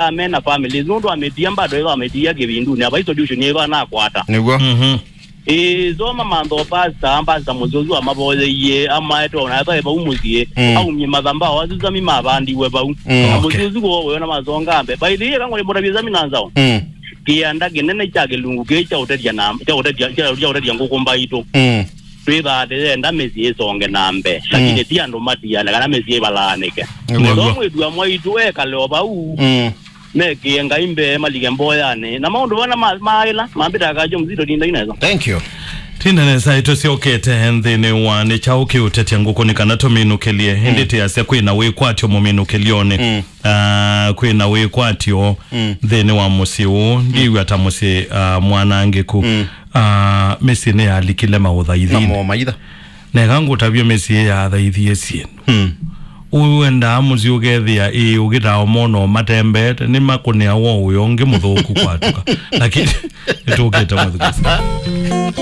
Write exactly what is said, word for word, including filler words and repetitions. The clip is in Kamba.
ĩla me na families, nũndũ amĩtia bado ĩva amĩtia kĩvindunĩ, ava solution ĩva nakwata. Nĩw'o. Mhm. Ĩĩ, so mamantha o pastor, pastor mũsyosu amavoyeie, amaete ona ethwa e vau mũsyĩ, Mm. aumie mathambao asu sami mavandiwe vau. Mm. Na Okay. mũsyosu kwowe ona masonga mbee. By the way, kang'ole mbona vya sami na nzao. Mm. Kĩanda kĩnene kya kĩlungu kĩĩ kya ũtethya na, kya ũtethya, kya, kya ũtethya ngũkũ mbaitũ. Mm. Twĩthaa tĩyenda mĩsyĩ ĩsonge na mbee, lakini Mm. ti andũ matiane kana mĩsyĩ ĩvalaanĩke. Nĩw'o. So mwĩĩtu wa mwaitũ ekale o vau, Mm. mekĩe Ngai mbee, malike mboyanĩ. Na maũndũ vana ma-, maĩla, mambĩta akajo mzito tinda ineza. Thank you. Tinda nesa, ĩtũsyokete nthĩnĩ wa nĩ kyaũ kĩũtetya ngũkũ nĩ kana tũminũkĩlye. Ĩndĩ Mm. tĩasya kwĩna wĩkwatyo mũminũkĩlyonĩ. Mm. Ah, kwĩna wĩkwatyo Mm. nthĩnĩ wa mũsyĩ ũũ. Ndiw'a ta mũsyĩ, ah, mwanangĩku. Mm. Ah, mĩsyĩ nĩyalikile Na maũthaithinĩ. Mo maitha. Neka ngũtavye mĩsyĩ yathaithie syĩndũ. Mm. Ũendaa mũsyĩ ũkethĩa ĩĩ ũkĩtaa ũmona ũmatembeete, nĩmakũnĩa woo ũyo ũngĩ mũthũku kwatũka. Lakini nĩtũkĩte mũthukĩsi.